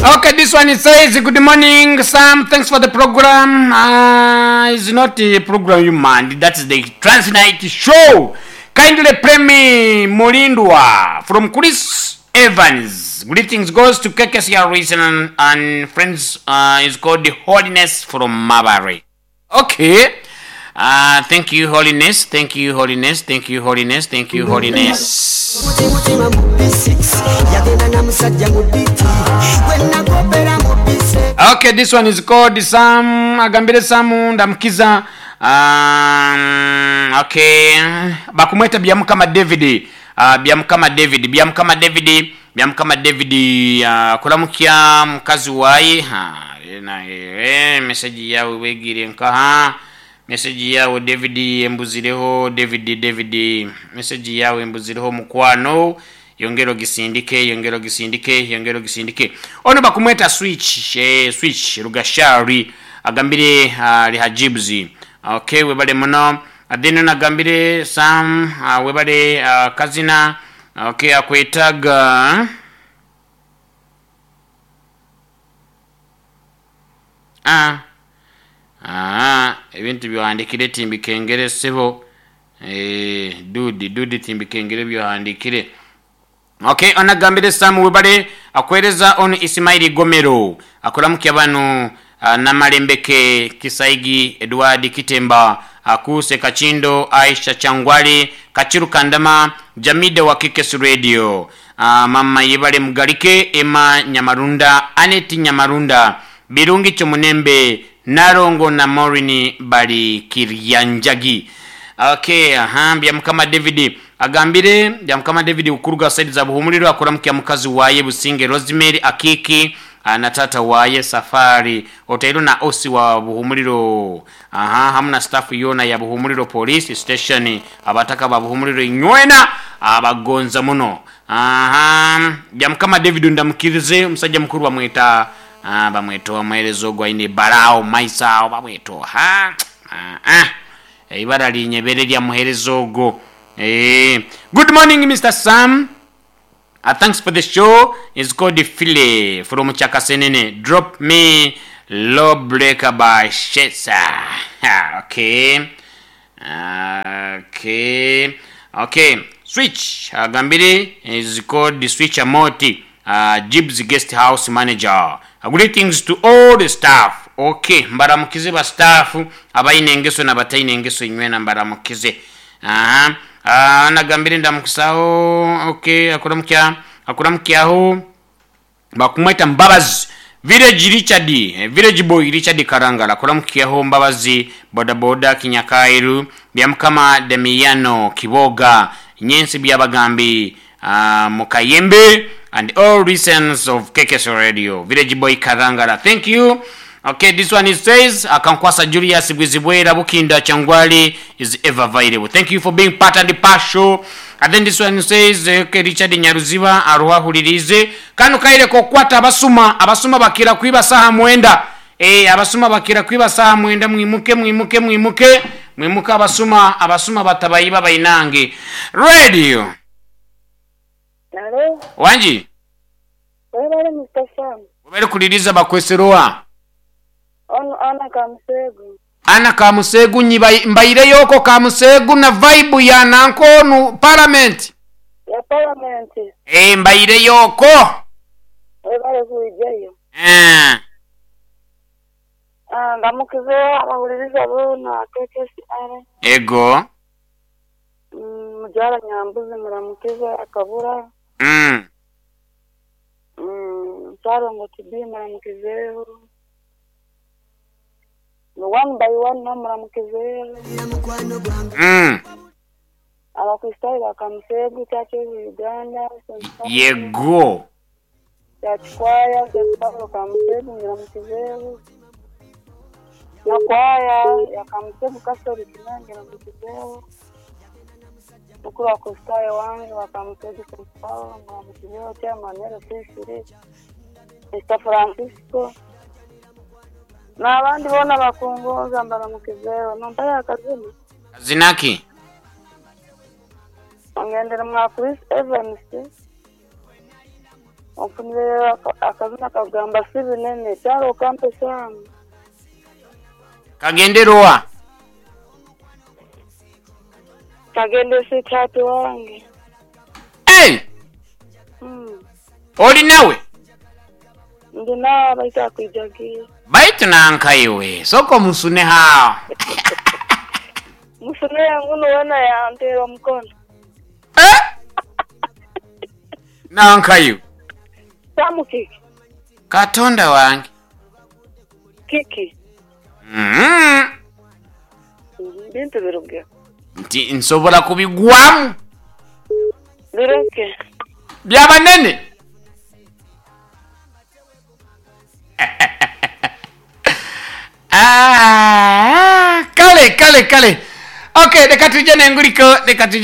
Okay, this one it says, Good morning, Sam. Thanks for the program. It's not a program you man. That is the Transnight Show. Kindly play me Mulindwa from Chris Evans. Greetings goes to KKCR Reason and friends is called Holiness from Mabare. Okay. Thank you Holiness, thank you Holiness, thank you Holiness, thank you Holiness. Okay, this one is called Sam agambire Sam ndamukiza okay bakumweta Byamukama David Byamukama David Byamukama David Byamukama David kuramukya mukazi waye message yawe wegiire nkaha Message yawe David embuzireho David David Message yawe embuzireho mukwano Yongera ogisindike yongera ogisindike yongera ogisindike Ono bakumweta Switch eh, Switch Rugashari agambire ali ha Jibs Ok webale muno Then ono agambire Sam webale akazina Ok akwetaga Ah aah ebintu by'ohandikire timbikengere ssebo eeh dude dude timbikengere by'ohandikire. Ok ono agambire Sam webale akuwereza onu Isimaili Gomero akuramukya banu Namalembeke Kisaigi Edward Kitemba Akuuse Kakindo Aisha Kyangwali Kakiru Kandama Jamida wa Kikesi Radio Mama Yebale Mugalike Emma Nyamarunda Annet Nyamarunda Birungi Kyomunembe Nalongo na Maureen bali Kiryanjagi. Ok aha Byamukama David agambire Byamukama David okuruga side za Buhumuriro akuramukya mukazi waye Businge Rosemary Akiiki na taata waye Safari otairwe na OC wa Buhumuriro aha hamu na staff yoona ya Buhumuriro Police Station abataka ba Buhumuriro inywena abagonza muno aha Byamukama David ndamukirize omusaija mukuru bamweta Bamweta omuheereza ogwo aine eibara agho mu maiso agho bamweta oha? Aa, eibara linyebere erya muheereza ogwo. Eeh. Good morning Mister Sam, thanks for the show, is called Philly from Kyakasenene, drop me Law breaker by Shesa. Okay. Okay. Okay. Switch agambire is called Switch Amoti. Jibs Guest House Manager Greetings to all the staff Ok mbaramukize ba staff abaine engeso na bataine engeso inywena mbaramukize Aha ah, nagambire ndamukisaho ok akuramukya akuramukyaho bakumweta Mbabazi Village Richard Village Boy Richard Karangala akuramukyaho Mbabazi Bodaboda Kinyakairu Byamukama Damiano Kiboga Nyensi Byabagambi Mukayembe and all listens of Kekeso Radio Village Boy Karangala thank you ok this one is says Akankwasa Julius Bwizibwera Bukinda Kyangwali is ever available thank you for being part and partial and then this one says ok Richard Nyaruziba aroho ahuririize kanu kaire kokukwata abasuma abasuma bakira kwiba saha mwenda eeh abasuma bakira kwiba saha mwenda mwimuke mwimuke mwimuke mwimuke abasuma abasuma batabayiba bainange Radio. Halo, Wangi? webale Mister Sam. Webale kuliriza bakwesera owa? Onu Anna Kamuseegu. Anna Kamuseegu nyi mbaireyo okwo Kamuseegu na vibe ya nanka onu parliament. Ya parliament. Eeh mbaireyo okwo. Webale kwijayo. Eeh. Ah, ndamukize abahuririza boona KKCR. Ego. Mugyara Nyambuzi muramukize akabura. Ssalongo Tibi muramukizeho. One by one nabo muramukizeho. Abakristaayo ba Kamuseegu Church of Uganda, St. Paul. Yego. Church Choir, St. Paul Kamuseegu muramukizeho. Na kwaya ya Kamuseegu Catholic nayo ngiramukizeho. Mukuru wa Kristaayo wange wa Kamuseegu St. Paul muramukizeho, Chairman LC3, Mister Francisco n'abandi boona abakungonza mbaramukizeho. Nompayo akazina? Kazina ki? Ongendere mwa Chris Evans. Onfunireyo akazina akakugamba si binene kyaro okampa esaamu. Kagendere owa? Kagende sweetheart wange. Hey! Oli nawe? Ndi nawe baitu akwijagiire. Baitu nanka iwe, sooka omusuneho agho. Musuneho ngunu weena yanteera omukono. Eh! Nanka iwe. Samu kiki? Katonda wange. Kiki? Mm. Bintu biruge. Nti nsobola kubigwamu. Bireke. Bya banene. Ah, kale kale kale. Okay, leka tuje nenguliko, leka tuje.